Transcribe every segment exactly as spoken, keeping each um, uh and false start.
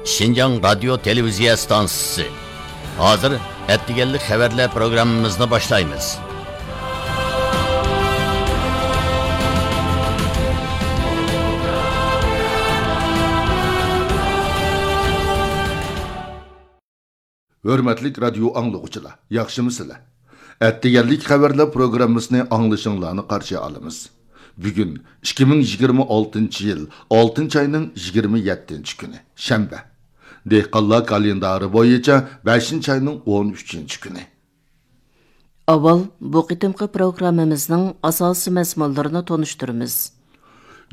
شىنجاڭ رادىيو تېلېۋىزىيە ئىستانسىسى. ھازىر ئەتىگەنلىك خەۋەرلەر پروگراممىمىزنى باشلايمىز. ھۆرمەتلىك رادىيو ئاڭلىغۇچىلار، ياخشىمۇسىلەر؟ ئەتىگەنلىك خەۋەرلەر پروگراممىسىنى ئاڭلىشىڭلارنى قارشى ئالىمىز. بۈگۈن ئىككى مىڭ يىگىرمە ئالتىنچى يىل ئالتىنچى ئاينىڭ يىگىرمە يەتتىنچى كۈنى، شەنبە. دېھقانلار كالېندارى بويىچە بەشىنچى ئاينىڭ ئون ئۈچىنچى كۈنى. ئاۋۋال بۇ قېتىمقى پروگراممىمىزنىڭ ئاساسىي مەزمۇنلىرىنى تونۇشتۇرىمىز.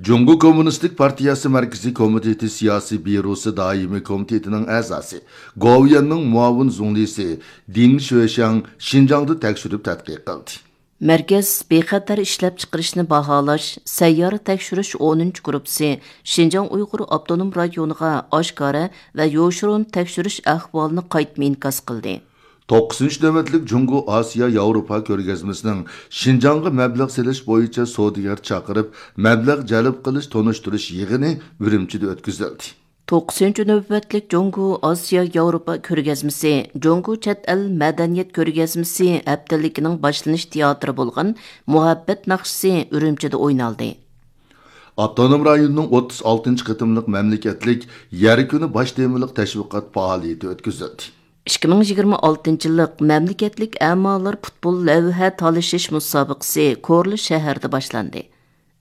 جۇڭگو كوممۇنىستىك پارتىيەسى مەركىزىي كومىتېتى سىياسىي بيۇروسى دائىمىي كومىتېتىنىڭ ئەزاسى، گوۋۇيۈەننىڭ مۇئاۋىن زۇڭلىسى دىڭ شۆشياڭ شىنجاڭدا تەكشۈرۈپ تەتقىق قىلدى. مەركەز بىخەتەر ئىشلەپچىقىرىشنى باھالاش سەييارە تەكشۈرۈش ئونىنچى گۇرۇپپىسى شىنجاڭ ئۇيغۇر ئاپتونوم رايونىغا ئاشكارا ۋە يوشۇرۇن تەكشۈرۈش ئەھۋالىنى قايتما ئىنكاس قىلدى. توققۇزىنچى نۆۋەتلىك جۇڭگو ئاسىيا ياۋروپا كۆرگەزمىسىنىڭ شىنجاڭغا مەبلەغ سېلىش بويىچە سودىگەر چاقىرىپ، مەبلەغ جەلپ قىلىش تونۇشتۇرۇش يىغىنى ئۈرۈمچىدە ئۆتكۈزۈلدى. توققۇزىنچى نۆۋەتلىك جۇڭگو ئاسىيا ياۋروپا كۆرگەزمىسى، جۇڭگو چەت ئەل مەدەنىيەت كۆرگەزمىسى ھەپتىلىكىنىڭ باشلىنىش تىياتىرى بولغان مۇھەببەت ناخشىسى ئۈرۈمچىدە ئوينالدى. ئاپتونوم رايوننىڭ ئوتتۇز ئالتىنچى قېتىملىق مەملىكەتلىك يەر كۈنى باش تېمىلىق تەشۋىقات پائالىيىتى ئۆتكۈزۈلدى. ئىككى مىڭ يىگىرمە ئالتىنچى يىللىق مەملىكەتلىك ئەمالار پۇتبول لەۋھە تالىشىش مۇسابىقىسى كورلا شەھىرىدە باشلاندى.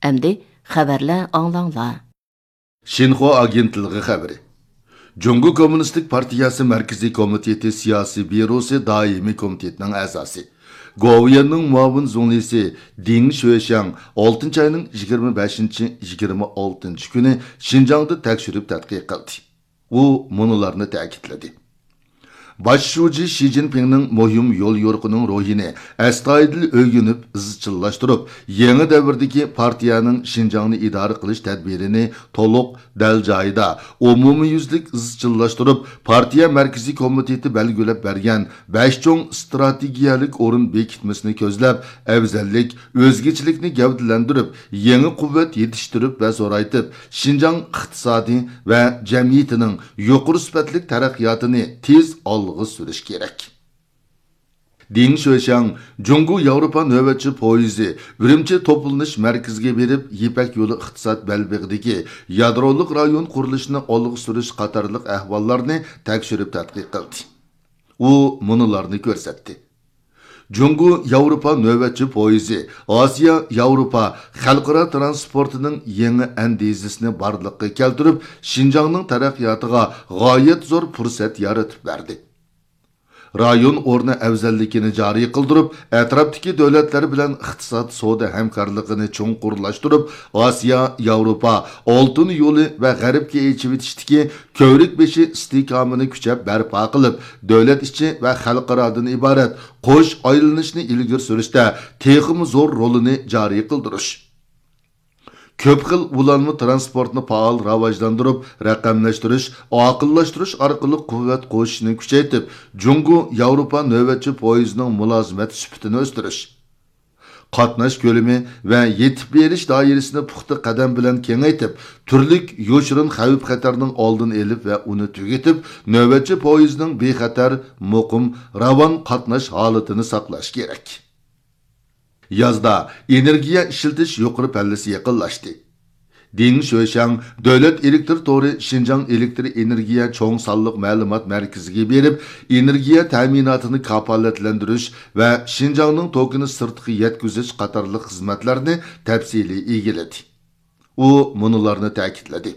ئەمدى خەۋەرلەر ئاڭلاڭلار. شىنخۇا ئاگېنتلىقى خەۋىرى. جۇڭگو كوممۇنىستىك پارتىيەسى مەركىزىي كومىتېتى سىياسىي بيۇروسى دائىمىي كومىتېتىنىڭ ئەزاسى، گوۋۇيۈەننىڭ مۇئاۋىن زۇڭلىسى دىڭ شۆشياڭ ئالتىنچى ئاينىڭ يىگىرمە بەشىنچى، يىگىرمە ئالتىنچى كۈنى شىنجاڭدا تەكشۈرۈپ تەتقىق قىلدى. ئۇ مۇنۇلارنى تەكىتلىدى. باش شۇجى شى جىنپىڭنىڭ مۇھىم يوليورۇقىنىڭ روھىنى ئەستايىدىل ئۆگىنىپ، ئىزچىللاشتۇرۇپ، يېڭى دەۋردىكى پارتىيەنىڭ شىنجاڭنى ئىدارە قىلىش تەدبىرىنى تولۇق، دەل جايىدا، ئومۇميۈزلۈك ئىزچىللاشتۇرۇپ، پارتىيە مەركىزىي كومىتېتى بەلگىلەپ بەرگەن بەش چوڭ ئىستراتېگىيەلىك ئورۇن بېكىتمىسىنى كۆزلەپ، ئەۋزەللىك، ئۆزگىچىلىكنى گەۋدىلەندۈرۈپ، يېڭى قۇۋۋەت يېتىشتۈرۈپ ۋە زورايتىپ، شىنجاڭ ئىقتىسادى ۋە جەمئىيىتىنىڭ يۇقىرى سۈپەتلىك تەرەققىياتىنى تېز ئالغا سۈرۈش كېرەك. دىڭ شۆشياڭ جۇڭگو ياۋروپا نۆۋەتچى پويىزى ئۈرۈمچى توپلىنىش مەركىزىگە بېرىپ، يىپەك يولى ئىقتىساد بەلبېغىدىكى يادرولۇق رايون قۇرۇلۇشىنى ئالغا سۈرۈش قاتارلىق ئەھۋاللارنى تەكشۈرۈپ تەتقىق قىلدى. ئۇ مۇنۇلارنى كۆرسەتتى. جۇڭگو ياۋروپا نۆۋەتچى پويىزى ئاسىيا ياۋروپا خەلقئارا تىرانسپورتىنىڭ يېڭى ئەندىزىسىنى بارلىققا كەلتۈرۈپ، شىنجاڭنىڭ تەرەققىياتىغا غايەت زور پۇرسەت يارىتىپ بەردى. رايون ئورنى ئەۋزەللىكىنى جارى قىلدۇرۇپ، ئەتراپتىكى دۆلەتلەر بىلەن ئىقتىساد، سودا ھەمكارلىقىنى چوڭقۇرلاشتۇرۇپ، ئاسىيا ياۋروپا ئالتۇن يولى ۋە غەربكە ئېچىۋېتىشتىكى كۆۋرۈك بېشى ئىستىھكامىنى كۈچەپ بەرپا قىلىپ، دۆلەت ئىچى ۋە خەلقئارادىن ئىبارەت قوش ئايلىنىشنى ئىلگىرى سۈرۈشتە تېخىمۇ زور رولىنى جارى قىلدۇرۇش. كۆپ خىل ئۇلانما تىرانسپورتنى پائال راۋاجلاندۇرۇپ، رەقەملەشتۈرۈش، ئاقىللاشتۇرۇش ئارقىلىق قۇۋۋەت قوشۇشنى كۈچەيتىپ، جۇڭگو ياۋروپا نۆۋەتچى پويىزىنىڭ مۇلازىمەت سۈپىتىنى ئۆستۈرۈش. قاتناش كۆلىمى ۋە يېتىپ بېرىش دائىرىسىنى پۇختا قەدەم بىلەن كېڭەيتىپ، تۈرلۈك يوشۇرۇن خەۋپ-خەتەرنىڭ ئالدىنى ئېلىپ ۋە ئۇنى تۈگىتىپ، نۆۋەتچى پويىزنىڭ بىخەتەر، مۇقىم، راۋان قاتناش ھالىتىنى ساقلاش كېرەك. يازدا ئېنېرگىيە ئىشلىتىش يۇقىرى پەللىسى يېقىنلاشتى. دىڭ شۆشياڭ دۆلەت ئېلېكتىر تورى شىنجاڭ ئېلېكتىر ئېنېرگىيە چوڭ سانلىق مەلۇمات مەركىزىگە بېرىپ، ئېنېرگىيە تەمىناتىنى كاپالەتلەندۈرۈش ۋە شىنجاڭنىڭ توكىنى سىرتقا يەتكۈزۈش قاتارلىق خىزمەتلەرنى تەپسىلىي ئىگىلىدى. ئۇ مۇنۇلارنى تەكىتلىدى.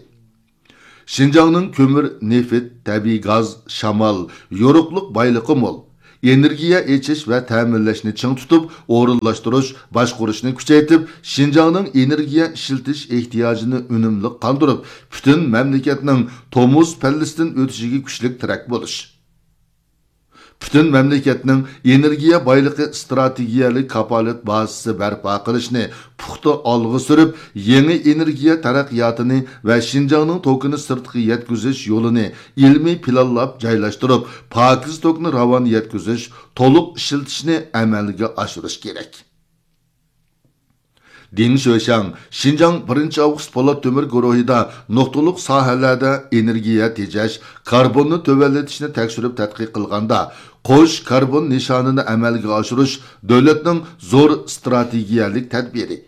شىنجاڭنىڭ كۆمۈر، نېفىت، تەبىئىي گاز، شامال، يورۇقلۇق بايلىقى مول. ئېنېرگىيە ئېچىش ۋە تەمىنلەشنى چىڭ تۇتۇپ، ئورۇنلاشتۇرۇش، باشقۇرۇشنى كۈچەيتىپ، شىنجاڭنىڭ ئېنېرگىيە ئىشلىتىش ئېھتىياجىنى ئۈنۈملۈك قاندۇرۇپ، پۈتۈن مەملىكەتنىڭ تومۇز پەللىسىدىن ئۆتۈشىگە كۈچلۈك تىرەك بولۇش. پۈتۈن مەملىكەتنىڭ ئېنېرگىيە بايلىقى ئىستراتېگىيەلىك كاپالەت بازىسى بەرپا قىلىشنى پۇختا ئالغا سۈرۈپ، يېڭى ئېنېرگىيە تەرەققىياتىنى ۋە شىنجاڭنىڭ توكىنى سىرتقا يەتكۈزۈش يولىنى ئىلمىي پىلانلاپ جايلاشتۇرۇپ، پاكىز توكنى راۋان يەتكۈزۈش، تولۇق ئىشلىتىشنى ئەمەلگە ئاشۇرۇش كېرەك. دېڭ شۆشياڭ شىنجاڭ بىرىنچى ئاۋغۇست پولات تۆمۈر گۇرۇھىدا نۇقتىلىق ساھەلەردە ئېنېرگىيە تېجەش، كاربوننى تۆۋەنلىتىشنى تەكشۈرۈپ تەتقىق قىلغاندا، قوش كاربون نىشانىنى ئەمەلگە ئاشۇرۇش دۆلەتنىڭ زور ئىستراتېگىيەلىك تەدبىرى.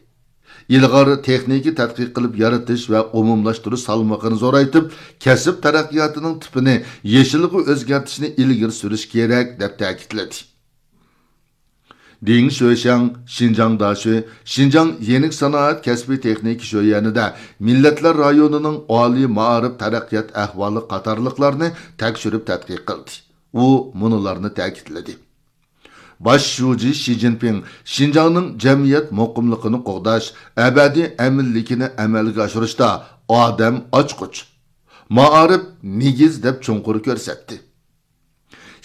ئىلغار تېخنىكا تەتقىق قىلىپ يارىتىش ۋە ئومۇملاشتۇرۇش سالمىقىنى زورايتىپ، كەسىپ تەرەققىياتىنىڭ تىپىنى يېشىلغا ئۆزگەرتىشنى ئىلگىرى سۈرۈش كېرەك، دەپ تەكىتلىدى. دېڭ شۆشياڭ، شىنجاڭ داشۆ، شىنجاڭ يېنىك سانائەت كەسپىي تېخنىكا شۆيەنىدە مىللەتلەر رايونىنىڭ ئالىي مائارىپ تەرەققىيات ئەھۋالى قاتارلىقلارنى تەكشۈرۈپ تەتقىق قىلدى. ئۇ مۇنۇلارنى تەكىتلىدى. باش شۇجى شى جىنپىڭ شىنجاڭنىڭ جەمئىيەت مۇقىملىقىنى قوغداش، ئەبەدىي ئەمىنلىكىنى ئەمەلگە ئاشۇرۇشتا ئادەم ئاچقۇچ، مائارىپ نېگىز دەپ چوڭقۇر كۆرسەتتى.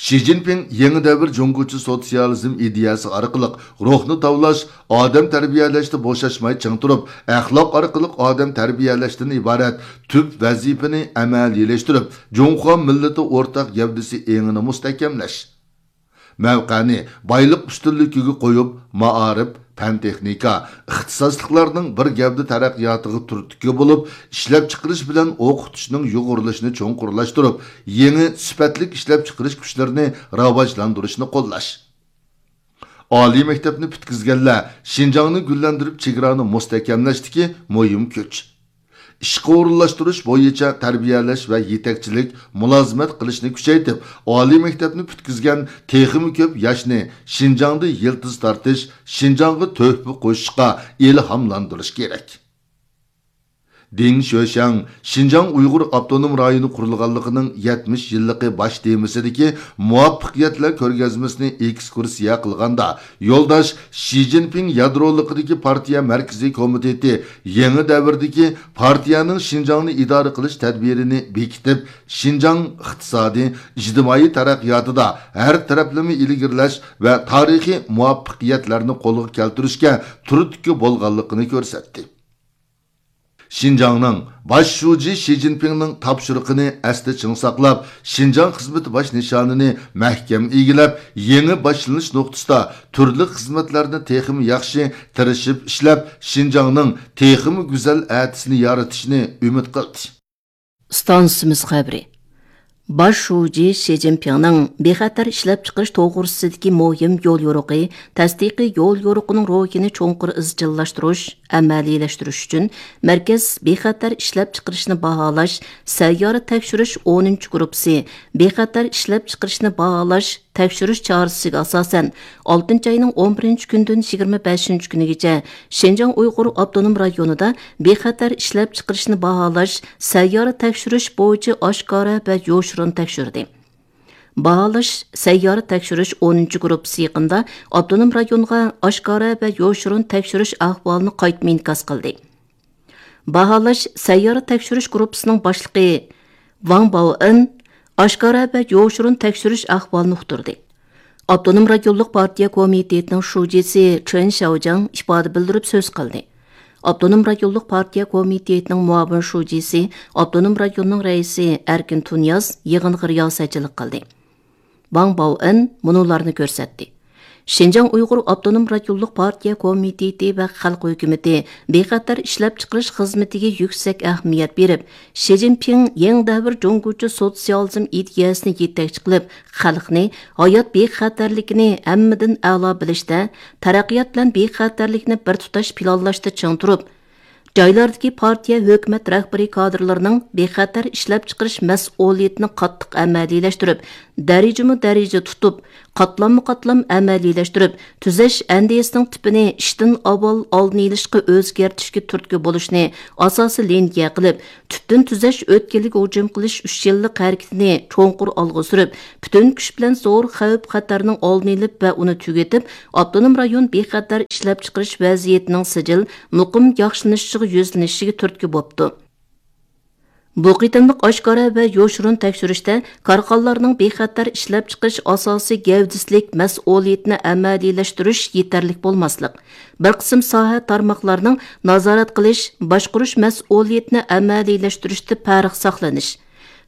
شى جىنپىڭ يېڭى دەۋر جۇڭگوچە سوتسىيالىزم ئىدىيەسى ئارقىلىق روھنى تاۋلاش، ئادەم تەربىيەلەشتە بوشاشماي چىڭ تۇرۇپ، ئەخلاق ئارقىلىق ئادەم تەربىيەلەشتىن ئىبارەت تۈپ ۋەزىپىنى ئەمەلىيلەشتۈرۈپ، جۇڭخۇا مىللىتى ئورتاق گەۋدىسى ئېڭىنى مۇستەھكەملەش، مەۋقەنى بايلىق ئۈستۈنلۈكىگە قويۇپ، مائارىپ، پەن-تېخنىكا، ئىختىساسلىقلارنىڭ بىر گەۋدە تەرەققىياتىغا تۈرتكە بولۇپ، ئىشلەپچىقىرىش بىلەن ئوقۇتۇشنىڭ يۇغۇرۇلۇشىنى چوڭقۇرلاشتۇرۇپ، يېڭى سۈپەتلىك ئىشلەپچىقىرىش كۈچلىرىنى راۋاجلاندۇرۇشنى قوللاش. ئالىي مەكتەپنى پۈتكۈزگەنلەر شىنجاڭنى گۈللەندۈرۈپ، چېگرانى مۇستەھكەملەشتىكى مۇھىم كۈچ. ئىشقا ئورۇنلاشتۇرۇش بويىچە تەربىيەلەش ۋە يېتەكچىلىك، مۇلازىمەت قىلىشنى كۈچەيتىپ، ئالىي مەكتەپنى پۈتكۈزگەن تېخىمۇ كۆپ ياشنى شىنجاڭدا يىلتىز تارتىش، شىنجاڭغا تۆھپە قوشۇشقا ئىلھاملاندۇرۇش كېرەك. دېڭ شۆشياڭ شىنجاڭ ئۇيغۇر ئاپتونوم رايونى قۇرۇلغانلىقىنىڭ يەتمىش يىللىقى باش تېمىسىدىكى مۇۋەپپەقىيەتلەر كۆرگەزمىسىنى ئېكسكۇرسىيە قىلغاندا، يولداش شى جىنپىڭ يادرولۇقىدىكى پارتىيە مەركىزىي كومىتېتى يېڭى دەۋردىكى پارتىيەنىڭ شىنجاڭنى ئىدارە قىلىش تەدبىرىنى بېكىتىپ، شىنجاڭ ئىقتىسادىي، ئىجتىمائىي تەرەققىياتىدا ھەر تەرەپلىمە ئىلگىرىلەش ۋە تارىخىي مۇۋەپپەقىيەتلەرنى قولغا كەلتۈرۈشكە تۈرتكە بولغانلىقىنى كۆرسەتتى. شىنجاڭنىڭ باش شۇجى شى جىنپىڭنىڭ تاپشۇرۇقىنى ئەستە چىڭ ساقلاپ، شىنجاڭ خىزمىتى باش نىشانىنى مەھكەم ئىگىلەپ، يېڭى باشلىنىش نۇقتىسىدا تۈرلۈك خىزمەتلەرنى تېخىمۇ ياخشى تىرىشىپ ئىشلەپ، شىنجاڭنىڭ تېخىمۇ گۈزەل ئەتىسىنى يارىتىشنى ئۈمىد قىلدى. ئىستانسىمىز خەۋىرى. باش شۇجى شى جىنپىڭنىڭ بىخەتەر ئىشلەپچىقىرىش توغرىسىدىكى مۇھىم يوليورۇقى، تەستىقىي يوليورۇقىنىڭ روھىنى چوڭقۇر ئىزچىللاشتۇرۇش، ئەمەلىيلەشتۈرۈش ئۈچۈن، مەركەز بىخەتەر ئىشلەپچىقىرىشنى باھالاش، سەييارە تەكشۈرۈش ئونىنچى گۇرۇپپىسى، بىخەتەر ئىشلەپچىقىرىشنى باھالاش، تەكشۈرۈش چارىسىگە ئاساسەن، ئالتىنچى ئاينىڭ ئون بىرىنچى كۈنىدىن يىگىرمە بەشىنچى كۈنىگىچە شىنجاڭ ئۇيغۇر ئاپتونوم رايونىدا بىخەتەر ئىشلەپچىقىرىشنى باھالاش، سەييارە تەكشۈرۈش بويىچە ئاشكارا ۋە يوشۇرۇن تەكشۈردى. باھالاش، سەييارە تەكشۈرۈش ئونىنچى گۇرۇپپىسى يېقىندا ئاپتونوم رايونغا ئاشكارا ۋە يوشۇرۇن تەكشۈرۈش ئەھۋالىنى قايتما ئىنكاس قىلدى. باھالاش، سەييارە تەكشۈرۈش گۇرۇپپىسىنىڭ باشلىقى ۋاڭ باۋئېن ئاشكارا ۋە يوشۇرۇن تەكشۈرۈش ئەھۋالىنى ئۇقتۇردى. ئاپتونوم رايونلۇق پارتىيە كومىتېتىنىڭ شۇجىسى چېن شياۋجياڭ ئىپادە بىلدۈرۈپ سۆز قىلدى. ئاپتونوم رايونلۇق پارتىيە كومىتېتىنىڭ مۇئاۋىن شۇجىسى، ئاپتونوم رايوننىڭ رەئىسى ئەركىن تۇنىياز يىغىنغا رىياسەتچىلىك قىلدى. ۋاڭ باۋئېن مۇنۇلارنى كۆرسەتتى. شىنجاڭ ئۇيغۇر ئاپتونوم رايونلۇق پارتىيە كومىتېتى ۋە خەلق ھۆكۈمىتى بىخەتەر ئىشلەپچىقىرىش خىزمىتىگە يۈكسەك ئەھمىيەت بېرىپ، شى جىنپىڭ يېڭى دەۋر جۇڭگوچە سوتسىيالىزم ئىدىيەسىنى يېتەكچى قىلىپ، خەلقنى ھايات بىخەتەرلىكىنى ھەممىدىن ئەلا بىلىشتە، تەرەققىيات بىلەن بىخەتەرلىكنى بىر تۇتاش پىلانلاشتا چىڭ تۇرۇپ، جايلاردىكى پارتىيە، ھۆكۈمەت رەھبىرىي كادىرلىرىنىڭ بىخەتەر ئىشلەپچىقىرىش مەسئۇلىيىتىنى قاتتىق ئەمەلىيلەشتۈرۈپ، دەرىجىمۇ دەرىجە تۇتۇپ، قاتلاممۇ قاتلام ئەمەلىيلەشتۈرۈپ، تۈزەش ئەندىزىسىنىڭ تىپىنى ئىشتىن ئاۋۋال ئالدىنى ئېلىشقا ئۆزگەرتىشكە تۈرتكە بولۇشنى ئاساسىي لىنىيە قىلىپ، تۈپتىن تۈزەش ئۆتكىلىگە ھۇجۇم قىلىش ئۈچ يىللىق ھەرىكىتىنى چوڭقۇر ئالغا سۈرۈپ، پۈتۈن كۈچ بىلەن زور خەۋپ-خەتەرنىڭ ئالدىنى ئېلىپ ۋە ئۇنى تۈگىتىپ، ئاپتونوم رايون بىخەتەر ئىشلەپچىقىرىش ۋەزىيىتىنىڭ سىجىل، مۇقىم ياخشىلىنىشىغا يۈزلىنىشىگە تۈرتكە بوپتۇ. بۇ قېتىملىق ئاشكارا ۋە يوشۇرۇن تەكشۈرۈشتە كارخانىلارنىڭ بىخەتەر ئىشلەپچىقىرىش ئاساسىي گەۋدىسىدىكى مەسئۇلىيىتىنى ئەمەلىيلەشتۈرۈش يېتەرلىك بولماسلىق، بىر قىسىم ساھە تارماقلارنىڭ نازارەت قىلىش، باشقۇرۇش مەسئۇلىيىتىنى ئەمەلىيلەشتۈرۈشتە پەرق ساقلىنىش،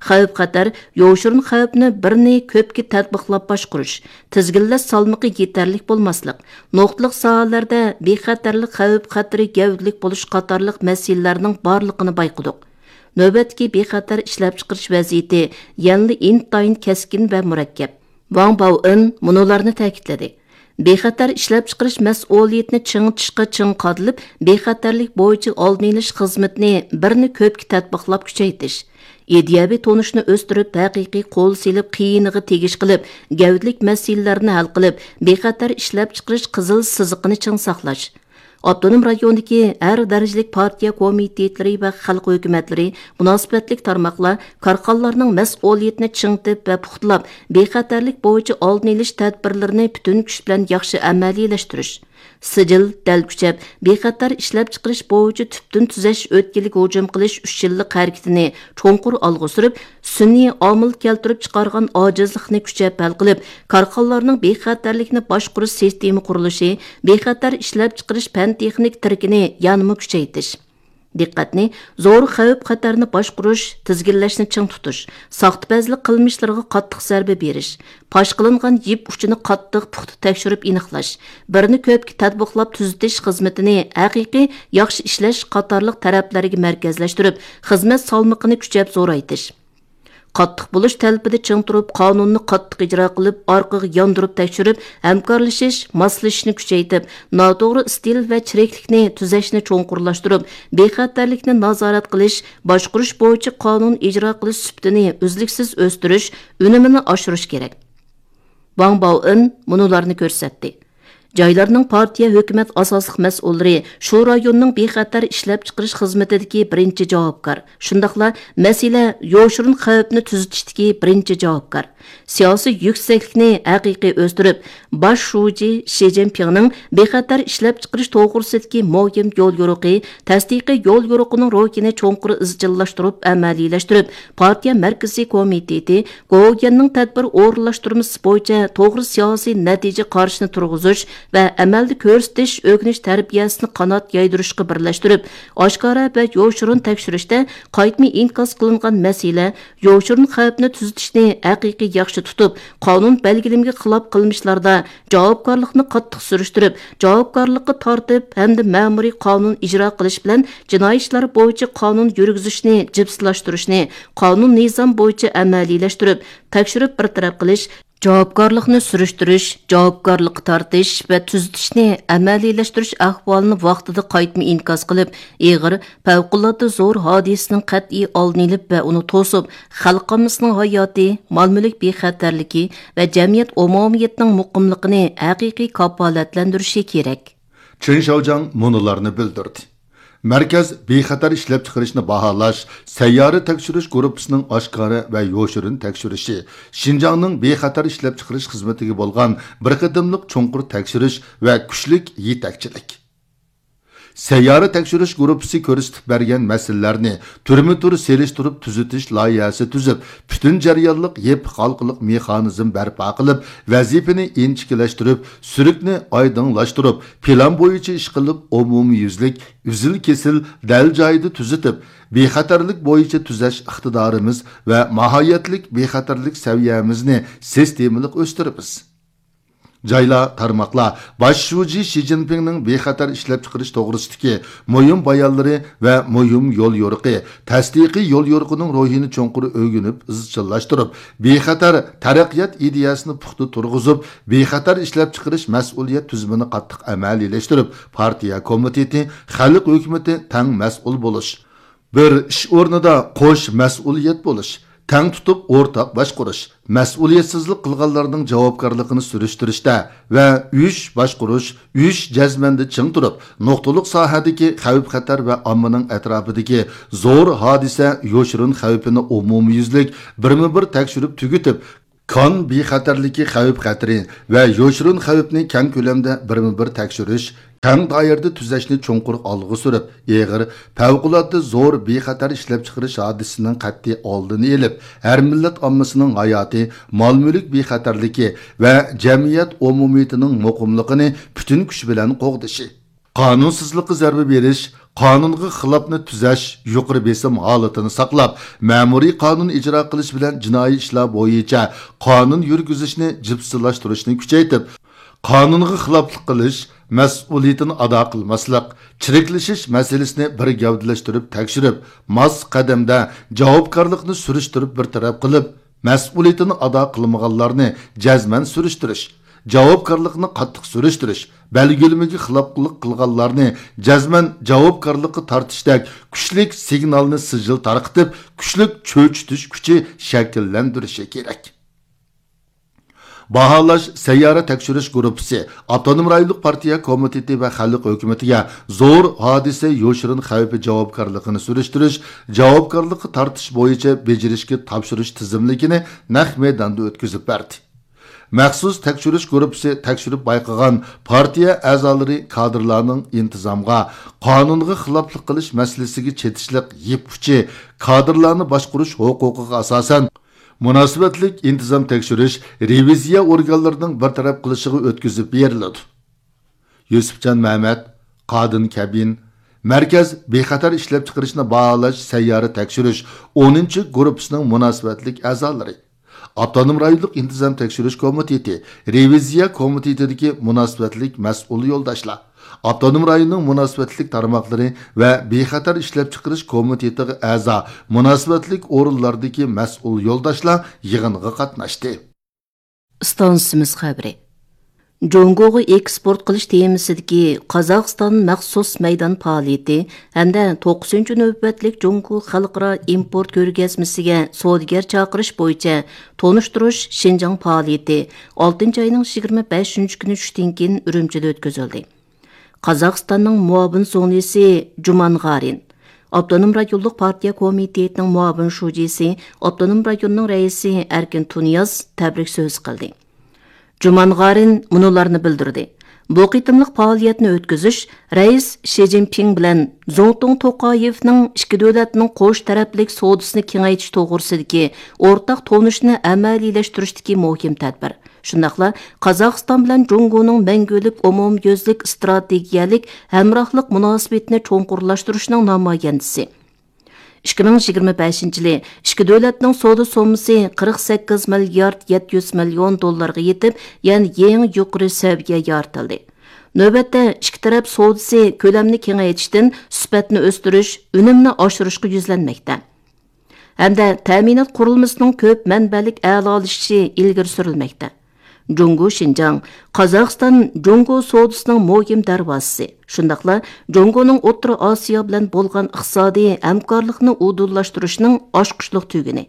خەۋپ-خەتەر، يوشۇرۇن خەۋپنى بىرنى كۆپكە تەتبىقلاپ باشقۇرۇش، تىزگىنلەش سالمىقى يېتەرلىك بولماسلىق، نۇقتىلىق ساھەلەردە بىخەتەرلىك خەۋپ-خەتىرى گەۋدىلىك بولۇش قاتارلىق مەسىلىلەرنىڭ بارلىقىنى بايقىدۇق. نۆۋەتتىكى بىخەتەر ئىشلەپچىقىرىش ۋەزىيىتى يەنىلا ئىنتايىن كەسكىن ۋە مۇرەككەپ. ۋاڭ باۋېن مۇنۇلارنى تەكىتلىدى: بىخەتەر ئىشلەپچىقىرىش مەسئۇلىيىتىنى چىڭىتىشقا چىڭ قادىلىپ، بىخەتەرلىك بويىچە ئالدىنى ئېلىش خىزمىتىنى بىرنى كۆپكە تەتبىقلاپ كۈچەيتىش، ئىدىيەۋى تونۇشنى ئۆستۈرۈپ، ھەقىقىي قول سېلىپ، قىيىنىغا تېگىش قىلىپ، گەۋدىلىك مەسىلىلەرنى ھەل قىلىپ، بىخەتەر ئىشلەپچىقىرىش قىزىل سىزىقىنى چىڭ ساقلاش. ئاپتونوم رايوندىكى ھەر دەرىجىلىك پارتىيە كومىتېتلىرى ۋە خەلق ھۆكۈمەتلىرى، مۇناسىۋەتلىك تارماقلار كارخانىلارنىڭ مەسئۇلىيىتىنى چىڭىتىپ ۋە پۇختىلاپ، بىخەتەرلىك بويىچە ئالدىنى ئېلىش تەدبىرلىرىنى پۈتۈن كۈچ بىلەن ياخشى ئەمەلىيلەشتۈرۈش، سىجىل، دەل كۈچەپ، بىخەتەر ئىشلەپچىقىرىش بويىچە تۈپتىن تۈزەش ئۆتكىلىگە ھۇجۇم قىلىش ئۈچ يىللىق ھەرىكىتىنى چوڭقۇر ئالغا سۈرۈپ، سۈنئىي ئامىل كەلتۈرۈپ چىقارغان ئاجىزلىقنى كۈچەپ ھەل قىلىپ، كارخانىلارنىڭ بىخەتەرلىكنى باشقۇرۇش سىستېما قۇرۇلۇشى، بىخەتەر ئىشلەپچىقىرىش پەن-تېخنىك تىرىكىنى يەنىمۇ كۈچەيتىش. دىققەتنى زور خەۋپ-خەتەرنى باشقۇرۇش، تىزگىنلەشنى چىڭ تۇتۇش، ساختىپەزلىك قىلمىشلىرىغا قاتتىق زەربە بېرىش، پاش قىلىنغان يىپ ئۇچىنى قاتتىق پۇختا تەكشۈرۈپ ئېنىقلاش، بىرنى كۆپكە تەتبىقلاپ تۈزىتىش خىزمىتىنى ھەقىقىي ياخشى ئىشلەش قاتارلىق تەرەپلەرگە مەركەزلەشتۈرۈپ، خىزمەت سالمىقىنى كۈچەپ زورايتىش. قاتتىق بولۇش تەلىپىدە چىڭ تۇرۇپ، قانۇننى قاتتىق ئىجرا قىلىپ، ئارقىغا ياندۇرۇپ تەكشۈرۈپ، ھەمكارلىشىش، ماسلىشىشنى كۈچەيتىپ، ناتوغرا ئىستىل ۋە چىرىكلىكنى تۈزەشنى چوڭقۇرلاشتۇرۇپ، بىخەتەرلىكنى نازارەت قىلىش، باشقۇرۇش بويىچە قانۇن ئىجرا قىلىش سۈپىتىنى ئۈزلۈكسىز ئۆستۈرۈش، ئۈنۈمىنى ئاشۇرۇش كېرەك. ۋاڭ باۋېن مۇنۇلارنى كۆرسەتتى. جايلارنىڭ پارتىيە، ھۆكۈمەت ئاساسلىق مەسئۇللىرى شۇ رايوننىڭ بىخەتەر ئىشلەپچىقىرىش خىزمىتىدىكى بىرىنچى جاۋابكار. شۇنداقلا مەسىلە يوشۇرۇن خەۋپنى تۈزىتىشتىكى بىرىنچى جاۋابكار. سىياسىي يۈكسەكلىكنى ھەقىقىي ئۆستۈرۈپ، باش شۇجى شى جىنپىڭنىڭ بىخەتەر ئىشلەپچىقىرىش توغرىسىدىكى مۇھىم يوليورۇقى، تەستىقىي يوليورۇقىنىڭ روھىنى چوڭقۇر ئىزچىللاشتۇرۇپ ئەمەلىيلەشتۈرۈپ، پارتىيە مەركىزىي كومىتېتى گوۋۇيۈەننىڭ تەدبىر ئورۇنلاشتۇرمىسى بويىچە توغرا سىياسىي نەتىجە قارىشىنى تۇرغۇزۇش ۋە ئەمەلدە كۆرسىتىش ئۆگىنىش تەربىيەسىنى قانات يايدۇرۇشقا بىرلەشتۈرۈپ، ئاشكارا ۋە يوشۇرۇن تەكشۈرۈشتە قايتما ئىنكاس قىلىنغان مەسىلە، يوشۇرۇن خەۋپنى تۈزىتىشنى ھەقىقىي ياخشى تۇتۇپ، قانۇن بەلگىلىمىگە خىلاپ قىلمىشلاردا جاۋابكارلىقنى قاتتىق سۈرۈشتۈرۈپ، جاۋابكارلىققا تارتىپ ھەمدە مەمۇرىي قانۇن ئىجرا قىلىش بىلەن جىنايى ئىشلار بويىچە قانۇن يۈرگۈزۈشنى جىپسىلاشتۇرۇشنى، قانۇن نىزام بويىچە ئەمەلىيلەشتۈرۈپ، تەكشۈرۈپ بىر تەرەپ قىلىش، جاۋابكارلىقنى سۈرۈشتۈرۈش، جاۋابكارلىققا تارتىش ۋە تۈزىتىشنى ئەمەلىيلەشتۈرۈش ئەھۋالىنى ۋاقتىدا قايتما ئىنكاس قىلىپ، ئېغىر، پەۋقۇلئاددە زور ھادىسىنىڭ قەتئىي ئالدىنى ئېلىپ ۋە ئۇنى توسۇپ، خەلق ئاممىسىنىڭ ھاياتى، مال-مۈلۈك بىخەتەرلىكى ۋە جەمئىيەت ئومۇمىيىتىنىڭ مۇقىملىقىنى ھەقىقىي كاپالەتلەندۈرۈشى كېرەك. چېن شياۋجياڭ مۇنۇلارنى بىلدۈردى: مەركەز بىخەتەر ئىشلەپچىقىرىشنى باھالاش سەييارە تەكشۈرۈش گۇرۇپپىسىنىڭ ئاشكارا ۋە يوشۇرۇن تەكشۈرۈشى، شىنجاڭنىڭ بىخەتەر ئىشلەپچىقىرىش خىزمىتىگە بولغان بىر قېتىملىق چوڭقۇر تەكشۈرۈش ۋە كۈچلۈك يېتەكچىلىك. سەييارە تەكشۈرۈش گۇرۇپپىسى كۆرسىتىپ بەرگەن مەسىلىلەرنى تۈرمە تۈر سېلىشتۇرۇپ تۈزىتىش لايىھەسى تۈزۈپ، پۈتۈن جەريانلىق يېپىق ھالقىلىق مېخانىزم بەرپا قىلىپ، ۋەزىپىنى ئىنچىكىلەشتۈرۈپ، سۈرۈكنى ئايدىڭلاشتۇرۇپ، پىلان بويىچە ئىش قىلىپ، ئومۇميۈزلۈك، ئۈزۈل-كېسىل، دەل جايىدا تۈزىتىپ، بىخەتەرلىك بويىچە تۈزەش ئىقتىدارىمىز ۋە ماھىيەتلىك بىخەتەرلىك سەۋىيەمىزنى سىستېمىلىق ئۆستۈرىمىز. جايلار، تارماقلار باش شۇجى شى جىنپىڭنىڭ بىخەتەر ئىشلەپچىقىرىش توغرىسىدىكى مۇھىم بايانلىرى ۋە مۇھىم يوليورۇقى، تەستىقىي يوليورۇقىنىڭ روھىنى چوڭقۇر ئۆگىنىپ ئىزچىللاشتۇرۇپ، بىخەتەر تەرەققىيات ئىدىيەسىنى پۇختا تۇرغۇزۇپ، بىخەتەر ئىشلەپچىقىرىش مەسئۇلىيەت تۈزۈمىنى قاتتىق ئەمەلىيلەشتۈرۈپ، پارتىيە كومىتېتى، خەلق ھۆكۈمىتى تەڭ مەسئۇل بولۇش، بىر ئىش ئورنىدا قوش مەسئۇلىيەت بولۇش، تەڭ تۇتۇپ ئورتاق باشقۇرۇش، مەسئۇلىيەتسىزلىك قىلغانلارنىڭ جاۋابكارلىقىنى سۈرۈشتۈرۈشتە ۋە ئۈچ باشقۇرۇش، ئۈچ جەزمەندە چىڭ تۇرۇپ، نۇقتىلىق ساھەدىكى خەۋپ-خەتەر ۋە ئاممىنىڭ ئەتراپىدىكى زور ھادىسە يوشۇرۇن خەۋپىنى ئومۇميۈزلۈك بىرمۇبىر تەكشۈرۈپ تۈگىتىپ، كان بىخەتەرلىكى خەۋپ-خەتىرى ۋە يوشۇرۇن خەۋپنى كەڭ كۆلەمدە بىرمۇبىر تەكشۈرۈش، كەڭ دائىرىدە تۈزەشنى چوڭقۇر ئالغا سۈرۈپ، ئېغىر، پەۋقۇلئاددە زور بىخەتەر ئىشلەپچىقىرىش ھادىسىسىنىڭ قەتئىي ئالدىنى ئېلىپ، ھەر مىللەت ئاممىسىنىڭ ھاياتى، مال-مۈلۈك بىخەتەرلىكى ۋە جەمئىيەت ئومۇمىيىتىنىڭ مۇقىملىقىنى پۈتۈن كۈچ بىلەن قوغدىشى. قانۇنسىزلىققا زەربە بېرىش، قانۇنغا خىلاپنى تۈزەش يۇقىرى بېسىم ھالىتىنى ساقلاپ، مەمۇرىي قانۇن ئىجرا قىلىش بىلەن جىنايى ئىشلار بويىچە قانۇن يۈرگۈزۈشنى جىپسىلاشتۇرۇشنى كۈچەيتىپ، قانۇنغا خىلاپلىق قىلىش، مەسئۇلىيىتىنى ئادا قىلماسلىق، چىرىكلىشىش مەسىلىسىنى بىر گەۋدىلەشتۈرۈپ تەكشۈرۈپ، ماس قەدەمدە جاۋابكارلىقنى سۈرۈشتۈرۈپ بىر تەرەپ قىلىپ، مەسئۇلىيىتىنى ئادا قىلمىغانلارنى جەزمەن سۈرۈشتۈرۈش، جاۋابكارلىقنى قاتتىق سۈرۈشتۈرۈش، بەلگىلىمىگە خىلاپلىق قىلغانلارنى جەزمەن جاۋابكارلىققا تارتىشتەك كۈچلۈك سىگنالنى سىجىل تارقىتىپ، كۈچلۈك چۆچۈتۈش كۈچى شەكىللەندۈرۈشى كېرەك. باھالاش سەييارە تەكشۈرۈش گۇرۇپپىسى ئاپتونوم رايونلۇق پارتىيە كومىتېتى ۋە خەلق ھۆكۈمىتىگە زور ھادىسە يوشۇرۇن خەۋپى جاۋابكارلىقىنى سۈرۈشتۈرۈش، جاۋابكارلىققا تارتىش بويىچە بېجىرىشكە تاپشۇرۇش تىزىملىكىنى نەق مەيداندا ئۆتكۈزۈپ بەردى. مەخسۇس تەكشۈرۈش گۇرۇپپىسى تەكشۈرۈپ بايقىغان پارتىيە ئەزالىرى كادىرلارنىڭ ئىنتىزامغا، قانۇنغا خىلاپلىق قىلىش مەسىلىسىگە چېتىشلىق يىپ ئۇچى، كادىرلارنى باشقۇرۇش ھوقۇقىغا ئاساسەن، مۇناسىۋەتلىك ئىنتىزام تەكشۈرۈش، رېۋىزىيە ئورگانلىرىنىڭ بىر تەرەپ قىلىشىغا ئۆتكۈزۈپ بېرىلىدۇ. يۈسۈپجان مەمەت، قادىن كەبىن، مەركەز بىخەتەر ئىشلەپچىقىرىشنى باھالاش سەييارە تەكشۈرۈش ئونىنچى گۇرۇپپىسىنىڭ مۇناسىۋەتلىك ئەزالىرى، ئاپتونوم رايونلۇق ئىنتىزام تەكشۈرۈش كومىتېتى، رېۋىزىيە كومىتېتىدىكى مۇناسىۋەتلىك مەسئۇل يولداشلار، ئاپتونوم رايوننىڭ مۇناسىۋەتلىك تارماقلىرى ۋە بىخەتەر ئىشلەپچىقىرىش كومىتېتىغا ئەزا مۇناسىۋەتلىك ئورۇنلاردىكى مەسئۇل يولداشلار يىغىنغا قاتناشتى. ئىستانسىمىز خەۋىرى. جۇڭگوغا ئېكسپورت قىلىش تېمىسىدىكى قازاقىستان مەخسۇس مەيدان پائالىيىتى ھەمدە توققۇزىنچى نۆۋەتلىك جۇڭگو خەلقئارا ئىمپورت كۆرگەزمىسىگە سودىگەر چاقىرىش بويىچە تونۇشتۇرۇش شىنجاڭ پائالىيىتى ئالتىنچى ئاينىڭ يىگىرمە بەشىنچى كۈنى چۈشتىن كېيىن ئۈرۈمچىدە ئۆتكۈزۈلدى. قازاقىستاننىڭ مۇئاۋىن زۇڭلىسى جۇمانغارىن، ئاپتونوم رايونلۇق پارتىيە كومىتېتىنىڭ مۇئاۋىن شۇجىسى، ئاپتونوم رايوننىڭ رەئىسى ئەركىن تۇنىياز تەبرىك سۆزى قىلدى. جۇمانغارىن مۇنۇلارنى بىلدۈردى: بۇ قېتىملىق پائالىيەتنى ئۆتكۈزۈش رەئىس شى جىنپىڭ بىلەن زۇڭتۇڭ توقايېۋنىڭ ئىككى دۆلەتنىڭ قوش تەرەپلىك سودىسىنى كېڭەيتىش توغرىسىدىكى ئورتاق تونۇشنى ئەمەلىيلەشتۈرۈشتىكى مۇھىم تەدبىر. شۇنداقلا قازاقىستان بىلەن جۇڭگونىڭ مەڭگۈلۈك ئومۇميۈزلۈك ئىستراتېگىيەلىك ھەمراھلىق مۇناسىۋىتىنى چوڭقۇرلاشتۇرۇشنىڭ نامايەندىسى. ئىككى مىڭ يىگىرمە بەشىنچى يىلى ئىككى دۆلەتنىڭ سودا سوممىسى قىرىق سەككىز مىليارد يەتتە يۈز مىليون دوللارغا يېتىپ، يەنە يېڭى يۇقىرى سەۋىيە يارىتىلدى. نۆۋەتتە ئىككى تەرەپ سودىسى كۆلەمنى كېڭەيتىشتىن سۈپەتنى ئۆستۈرۈش، ئۈنۈمنى ئاشۇرۇشقا يۈزلەنمەكتە. ھەمدە تەمىنات قۇرۇلمىسىنىڭ كۆپ مەنبەلىك ئەلالىشىشى ئىلگىرى سۈرۈلمەكتە. جۇڭگو شىنجاڭ، قازاقىستان جۇڭگو سودىسىنىڭ مۇھىم دەرۋازىسى، شۇنداقلا جۇڭگونىڭ ئوتتۇرا ئاسىيا بىلەن بولغان ئىقتىسادىي ھەمكارلىقنى ئۇدۇللاشتۇرۇشنىڭ ئاچقۇچلۇق تۈگۈنى.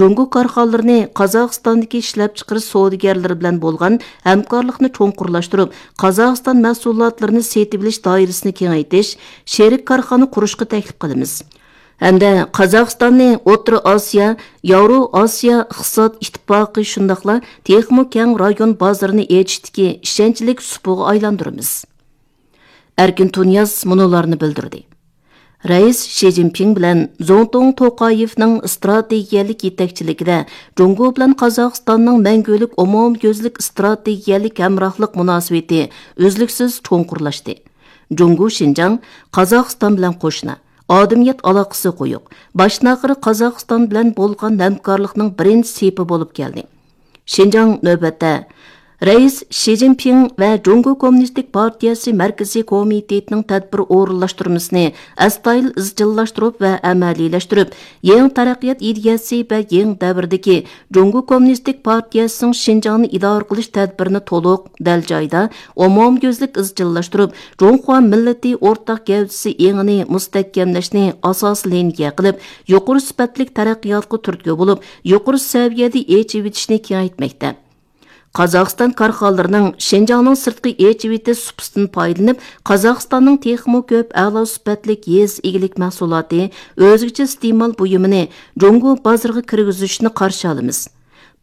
جۇڭگو كارخانىلىرىنى قازاقىستاندىكى ئىشلەپچىقىرىش سودىگەرلىرى بىلەن بولغان ھەمكارلىقنى چوڭقۇرلاشتۇرۇپ، قازاقىستان مەھسۇلاتلىرىنى سېتىۋېلىش دائىرىسىنى كېڭەيتىش، شېرىك كارخانا قۇرۇشقا تەكلىپ قىلىمىز. ھەمدە قازاقىستاننى ئوتتۇرا ئاسىيا، ياۋرو ئاسىيا ئىقتىساد ئىتتىپاقى، شۇنداقلا تېخىمۇ كەڭ رايون بازىرىنى ئېچىشتىكى ئىشەنچلىك سۇپىغا ئايلاندۇرىمىز. ئەركىن تۇنىياز مۇنۇلارنى بىلدۈردى: رەئىس شى جىنپىڭ بىلەن زۇڭتۇڭ توقايېۋنىڭ ئىستراتېگىيەلىك يېتەكچىلىكىدە جۇڭگو بىلەن قازاقىستاننىڭ مەڭگۈلۈك ئومۇميۈزلۈك ئىستراتېگىيەلىك ھەمراھلىق مۇناسىۋىتى ئۈزلۈكسىز چوڭقۇرلاشتى. جۇڭگو شىنجاڭ قازاقىستان بىلەن قوشنا، ئادەمىيەت ئالاقىسى قويۇق، باشتىن ئاخىر قازاقىستان بىلەن بولغان ھەمكارلىقنىڭ بىرىنچى سېپى بولۇپ كەلدى. شىنجاڭ نۆۋەتتە رەئىس شى جىنپىڭ ۋە جۇڭگو كوممۇنىستىك پارتىيەسى مەركىزىي كومىتېتىنىڭ تەدبىر ئورۇنلاشتۇرمىسىنى ئەستايىدىل ئىزچىللاشتۇرۇپ ۋە ئەمەلىيلەشتۈرۈپ، يېڭى تەرەققىيات ئىدىيەسى ۋە يېڭى دەۋردىكى جۇڭگو كوممۇنىستىك پارتىيەسىنىڭ شىنجاڭنى ئىدارە قىلىش تەدبىرىنى تولۇق، دەل جايىدا، ئومۇميۈزلۈك ئىزچىللاشتۇرۇپ، جۇڭخۇا مىللىتى ئورتاق گەۋدىسى ئېڭىنى مۇستەھكەملەشنى ئاساسىي لىنىيە قىلىپ، يۇقىرى سۈپەتلىك تەرەققىياتقا تۈرتكە بولۇپ، يۇقىرى سەۋىيەدە ئېچىۋېتىشنى كېڭەيتمەكتە. قازاقىستان كارخانىلىرىنىڭ شىنجاڭنىڭ سىرتقى ئېچىۋېتىش سۇپىسىدىن پايدىلىنىپ، قازاقىستاننىڭ تېخىمۇ كۆپ ئەلا سۈپەتلىك يېزا ئىگىلىك مەھسۇلاتى، ئۆزگىچە ئىستېمال بۇيۇمىنى جۇڭگو بازىرىغا كىرگۈزۈشىنى قارشى ئالىمىز.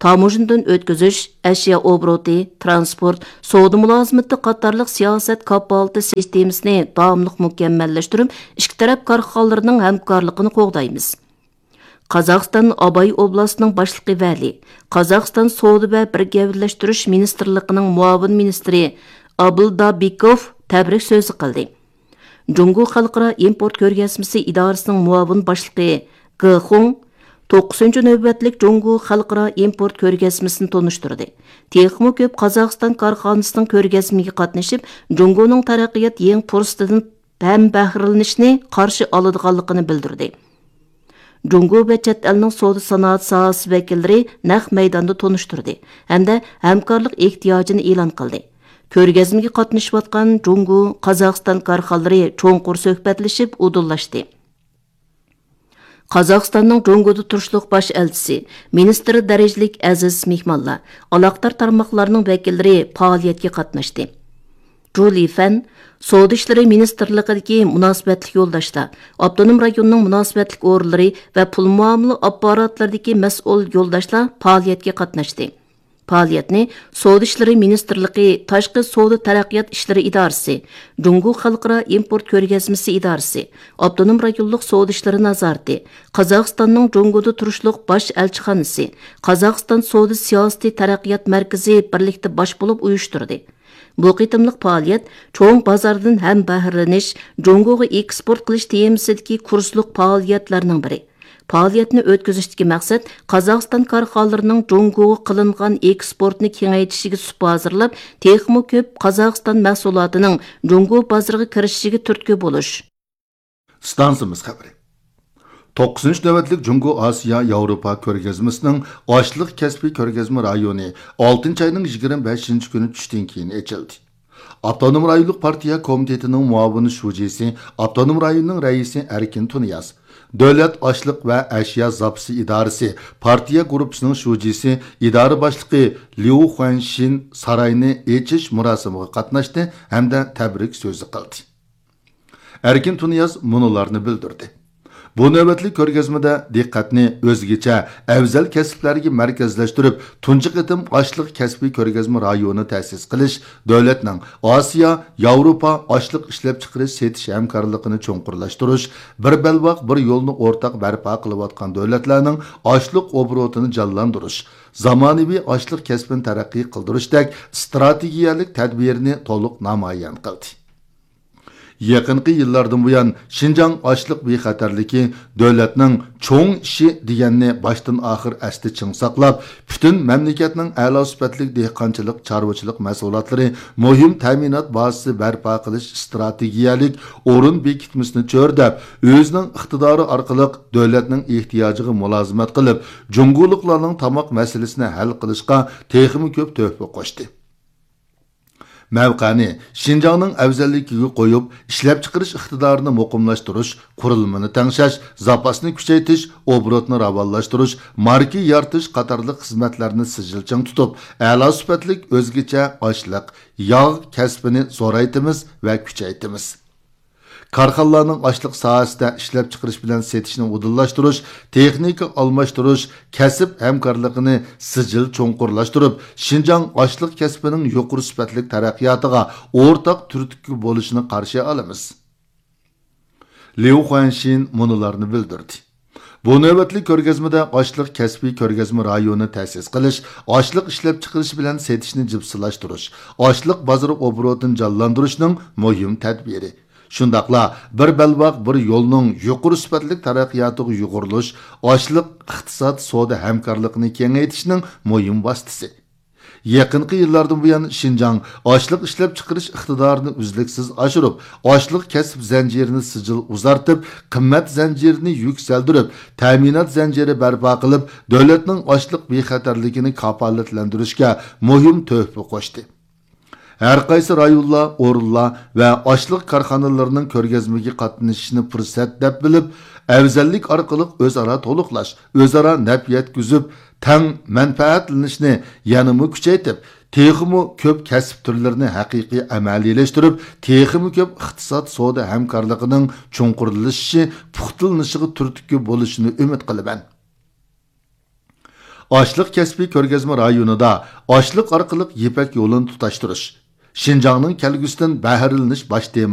تاموژنىدىن ئۆتكۈزۈش، ئەشيا ئوبوروتى، تىرانسپورت، سودا مۇلازىمىتى قاتارلىق سىياسەت كاپالىتى سىستېمىسىنى داۋاملىق مۇكەممەللەشتۈرۈپ، ئىككى تەرەپ كارخانىلىرىنىڭ ھەمكارلىقىنى قوغدايمىز. قازاقىستان ئاباي ئوبلاستىنىڭ باشلىقى ۋەلى، قازاقىستان سودا ۋە بىر گەۋدىلەشتۈرۈش مىنىستىرلىقىنىڭ مۇئاۋىن مىنىستىرى ئابىلدابىكوف تەبرىك سۆزى قىلدى. جۇڭگو خەلقئارا ئىمپورت كۆرگەزمىسى ئىدارىسىنىڭ مۇئاۋىن باشلىقى گې خۇڭ توققۇزىنچى نۆۋەتلىك جۇڭگو خەلقئارا ئىمپورت كۆرگەزمىسىنى تونۇشتۇردى. تېخىمۇ كۆپ قازاقىستان كارخانىسىنىڭ كۆرگەزمىگە قاتنىشىپ، جۇڭگونىڭ تەرەققىيات يېڭى پۇرسىتىدىن ھەم بەھرىلىنىشنى قارشى ئالىدىغانلىقىنى بىلدۈردى. جۇڭگو ۋە چەت ئەلنىڭ سودا سانائەت ساھەسى ۋەكىللىرى نەق مەيداندا تونۇشتۇردى ھەمدە ھەمكارلىق ئېھتىياجىنى ئېلان قىلدى. كۆرگەزمىگە قاتنىشىۋاتقان جۇڭگو، قازاقىستان كارخانىلىرى چوڭقۇر سۆھبەتلىشىپ ئۇدۇللاشتى. قازاقىستاننىڭ جۇڭگودا تۇرۇشلۇق باش ئەلچىسى، مىنىستىر دەرىجىلىك ئەزىز مېھمانلار، ئالاقىدار تارماقلارنىڭ ۋەكىللىرى پائالىيەتكە قاتناشتى. جۇ لىفەن، سودا ئىشلىرى مىنىستىرلىقىدىكى مۇناسىۋەتلىك يولداشلار، ئاپتونوم رايوننىڭ مۇناسىۋەتلىك ئورۇنلىرى ۋە پۇل مۇئامىلە ئاپپاراتلىرىدىكى مەسئۇل يولداشلار پائالىيەتكە قاتناشتى. پائالىيەتنى سودا ئىشلىرى مىنىستىرلىقى، تاشقى سودا تەرەققىيات ئىشلىرى ئىدارىسى، جۇڭگو خەلقئارا ئىمپورت كۆرگەزمىسى ئىدارىسى، ئاپتونوم رايونلۇق سودا ئىشلىرى نازارىتى، قازاقىستاننىڭ جۇڭگودا تۇرۇشلۇق باش ئەلچىخانىسى، قازاقىستان سودا سىياسىتى تەرەققىيات مەركىزى بىرلىكتە باش بولۇپ ئۇيۇشتۇردى. بۇ قېتىملىق پائالىيەت چوڭ بازاردىن ھەم بەھرىلىنىش، جۇڭگوغا ئېكسپورت قىلىش تېمىسىدىكى كۇرسلۇق پائالىيەتلەرنىڭ بىرى. پائالىيەتنى ئۆتكۈزۈشتىكى مەقسەت قازاقىستان كارخانىلىرىنىڭ جۇڭگوغا قىلىنغان ئېكسپورتنى كېڭەيتىشىگە سۇپا ھازىرلاپ، تېخىمۇ كۆپ قازاقىستان مەھسۇلاتىنىڭ جۇڭگو بازىرىغا كىرىشىشىگە تۈرتكە بولۇش. ئىستانسىمىز خەۋىرى. توققۇزىنچى نۆۋەتلىك جۇڭگو ئاسىيا ياۋروپا كۆرگەزمىسىنىڭ ئاشلىق كەسپىي كۆرگەزمە رايونى ئالتىنچى ئاينىڭ يىگىرمە بەشىنچى كۈنى چۈشتىن كېيىن ئېچىلدى. ئاپتونوم رايونلۇق پارتىيە كومىتېتىنىڭ مۇئاۋىن شۇجىسى، ئاپتونوم رايوننىڭ رەئىسى ئەركىن تۇنىياز، دۆلەت ئاشلىق ۋە ئەشيا زاپىسى ئىدارىسى پارتىيە گۇرۇپپىسىنىڭ شۇجىسى، ئىدارە باشلىقى ليۇ خۇەنشىن ساراينى ئېچىش مۇراسىمىغا قاتناشتى ھەمدە تەبرىك سۆزى قىلدى. ئەركىن تۇنىياز مۇنۇلارنى بىلدۈردى. بۇ نۆۋەتلىك كۆرگەزمىدە دىققەتنى ئۆزگىچە، ئەۋزەل كەسىپلەرگە مەركەزلەشتۈرۈپ، تۇنجى قېتىم ئاشلىق كەسپىي كۆرگەزمە رايونى تەسىس قىلىش، دۆلەتنىڭ ئاسىيا، ياۋروپا ئاشلىق ئىشلەپچىقىرىش سېتىش ھەمكارلىقىنى چوڭقۇرلاشتۇرۇش، بىر بەلباغ، بىر يولنى ئورتاق بەرپا قىلىۋاتقان دۆلەتلەرنىڭ ئاشلىق ئوبوروتىنى جانلاندۇرۇش، زامانىۋى ئاشلىق كەسپىنى تەرەققىي قىلدۇرۇشتەك ئىستراتېگىيەلىك تەدبىرىنى تولۇق نامايان قىلدى. يېقىنقى يىللاردىن بۇيان، شىنجاڭ ئاشلىق بىخەتەرلىكى دۆلەتنىڭ چوڭ ئىشى دېگەننى باشتىن ئاخىر ئەستە چىڭ ساقلاپ، پۈتۈن مەملىكەتنىڭ ئەلا سۈپەتلىك دېھقانچىلىق، چارۋىچىلىق مەھسۇلاتلىرى مۇھىم تەمىنات بازىسى بەرپا قىلىش ئىستراتېگىيەلىك ئورۇن بېكىتمىسىنى چۆرىدەپ، ئۆزىنىڭ ئىقتىدارى ئارقىلىق دۆلەتنىڭ ئېھتىياجىغا مۇلازىمەت قىلىپ، جۇڭگولۇقلارنىڭ تاماق مەسىلىسىنى ھەل قىلىشقا تېخىمۇ كۆپ تۆھپە قوشتى. مەۋقەنى، شىنجاڭنىڭ ئەۋزەللىكىگە قويۇپ، ئىشلەپچىقىرىش ئىقتىدارىنى مۇقىملاشتۇرۇش، قۇرۇلمىنى تەڭشەش، زاپاسنى كۈچەيتىش، ئوبوروتنى راۋانلاشتۇرۇش، ماركا يارىتىش قاتارلىق خىزمەتلەرنى سىجىل چىڭ تۇتۇپ، ئەلا سۈپەتلىك ئۆزگىچە ئاشلىق، ياغ كەسپىنى زورايتىمىز ۋە كۈچەيتىمىز. كارخانىلارنىڭ ئاشلىق ساھەسىدە ئىشلەپچىقىرىش بىلەن سېتىشنى ئۇدۇللاشتۇرۇش، تېخنىكا ئالماشتۇرۇش، كەسىپ ھەمكارلىقىنى سىجىل چوڭقۇرلاشتۇرۇپ، شىنجاڭ ئاشلىق كەسپىنىڭ يۇقىرى سۈپەتلىك تەرەققىياتىغا ئورتاق تۈرتكە بولۇشىنى قارشى ئالىمىز. ليۇ خۇەنشىن مۇنۇلارنى بىلدۈردى. بۇ نۆۋەتلىك كۆرگەزمىدە ئاشلىق كەسپىي كۆرگەزمە رايونى تەسىس قىلىش، ئاشلىق ئىشلەپچىقىرىش بىلەن سېتىشنى جىپسىلاشتۇرۇش، ئاشلىق بازىرى ئوبوروتىنى جانلاندۇرۇشنىڭ مۇھىم تەدبىرى، شۇنداقلا بىر بەلباغ، بىر يولنىڭ يۇقىرى سۈپەتلىك تەرەققىياتىغا يۇغۇرۇلۇش، ئاشلىق ئىقتىساد سودا ھەمكارلىقىنى كېڭەيتىشنىڭ مۇھىم ۋاسىتىسى. يېقىنقى يىللاردىن بۇيان، شىنجاڭ ئاشلىق ئىشلەپچىقىرىش ئىقتىدارىنى ئۈزلۈكسىز ئاشۇرۇپ، ئاشلىق كەسىپ زەنجىرىنى سىجىل ئۇزارتىپ، قىممەت زەنجىرىنى يۈكسەلدۈرۈپ، تەمىنات زەنجىرى بەرپا قىلىپ، دۆلەتنىڭ ئاشلىق بىخەتەرلىكىنى كاپالەتلەندۈرۈشكە مۇھىم تۆھپە قوشتى. ھەر قايسى رايونلار، ئورۇنلار ۋە ئاشلىق كارخانىلىرىنىڭ كۆرگەزمىگە قاتنىشىشىنى پۇرسەت دەپ بىلىپ، ئەۋزەللىك ئارقىلىق ئۆزئارا تولۇقلاش، ئۆزئارا نەپ يەتكۈزۈپ، تەڭ مەنپەئەتلىنىشنى يەنىمۇ كۈچەيتىپ، تېخىمۇ كۆپ كەسىپ تۈرلىرىنى ھەقىقىي ئەمەلىيلەشتۈرۈپ، تېخىمۇ كۆپ ئىقتىساد سودا ھەمكارلىقىنىڭ چوڭقۇرلىشىشى، پۇختىلىنىشىغا تۈرتكە بولۇشىنى ئۈمىد قىلىمەن. ئاشلىق كەسپىي كۆرگەزمە رايونىدا ئاشلىق ئارقىلىق يىپەك يولىنى تۇتاشتۇرۇش، شىنجاڭنىڭ كەلگۈسىدىن بەھرىلىنىش باش تېما.